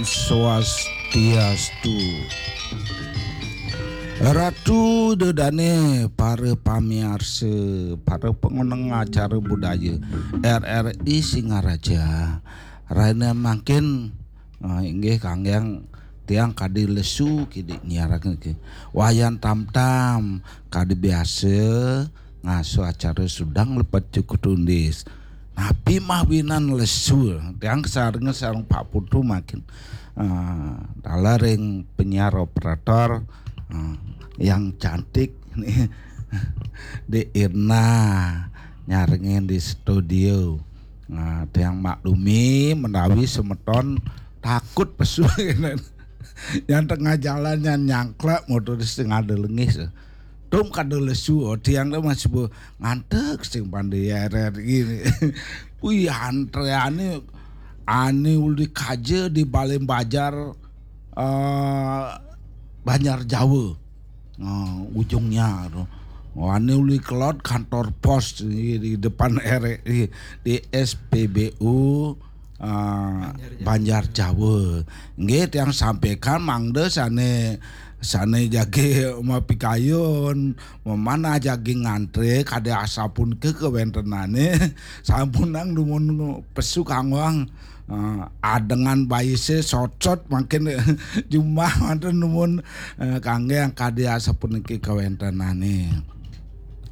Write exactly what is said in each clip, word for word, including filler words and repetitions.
Swastiastu. Ratu Ida Dane, para pamiarsa, para pangoneng acara budaya R R I Singaraja. Rahina mangkin, eh, inggih kangge tiang kadi lesu kidi nyiaraken niki. Wayan tam-tam kadi biasa ngasuh acara sudang lepet cukup tundis. Napi mawinan lesu, tiang sareng, sareng Pak Putu mangkin, eh, taler ring penyiar operator, eh, yang cantik nih, Dek Irna nyarengin di studio. Nah, tiang maklumi menawi semeton takut pesu. Yang tengah jalan yang nyangklek motor setengah delengis. Tum kada lesu, oh, tiang dah masih bu ngantek sing pandai R R I. Wih, antreane ane uli kaja di Balai Bajar, eh, Banjar Jawa. Nah, ujungnya tuh. Ane uli kelot kantor pos di, di depan R R I, di S P B U, eh, Banjar Jawa. Nggih, tiang sampaikan mangda sane, sane jagi mapikayun, memanah jagi ngantre, kade asapunika kawentenane, sampunang dumun pesu kanggoang, eh, adengan bayise sotsot mangkin jumah manten dumun, eh, kangge kade asapuniki kawentenane.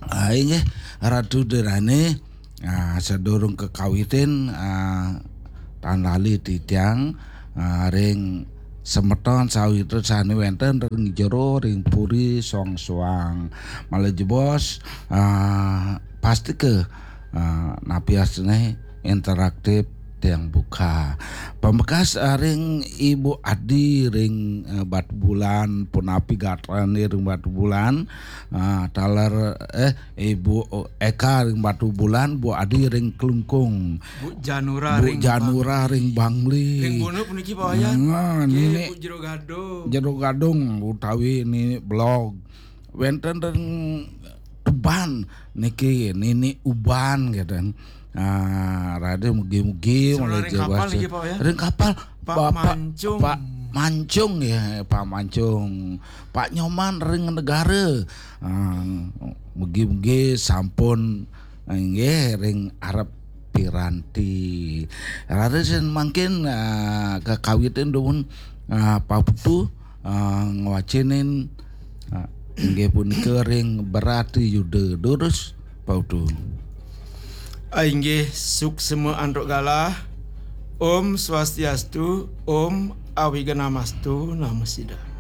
Ah, inggih, Ratu Ida Dane, ah, sadurung kekawitin, ah, tan lali titiang, ah, ring semeton sawitra sane wenten ring jero ring puri soang-soang. Malih jebos, ah, pastika, ah, napi astune interaktif tiang buka. Pamekas, ah, ring Ibu Adi ring, eh, Batubulan, punapi gatrane ring Batubulan, ah, taler, eh, Ibu Eka ring Batubulan, Bu Adi ring Klungkung. Bu Janura Bu ring Janura Bangli. Ring Bangli. Ring Bono puniki Pak Wayan. Nah, nggih, Nini Bu Jero Gadung. Jero Gadung utawi Nini Blog. Wenten ring Tuban niki Nini Uban gitu. Ah, rada mugi-mugi. Sebenarnya malih ring kapal niki, Pak, ya? Ring kapal. Pak Bapak Mancung. Pak Mancung ya, Pak Mancung. Pak Nyoman ring Negara. Ah, mugi-mugi sampun, eh, nggih, ring arep piranti. Raris mangkin, ah, kekawitin dumun, ah, Pak Putu, ah, ngwacenin, ah, inggih punika ring Berarti Yuda. Durus, Pak Putu. Ah, inggih, suksma antuk galah. Om Swastiastu, Om Awignamastu Namo Sidham.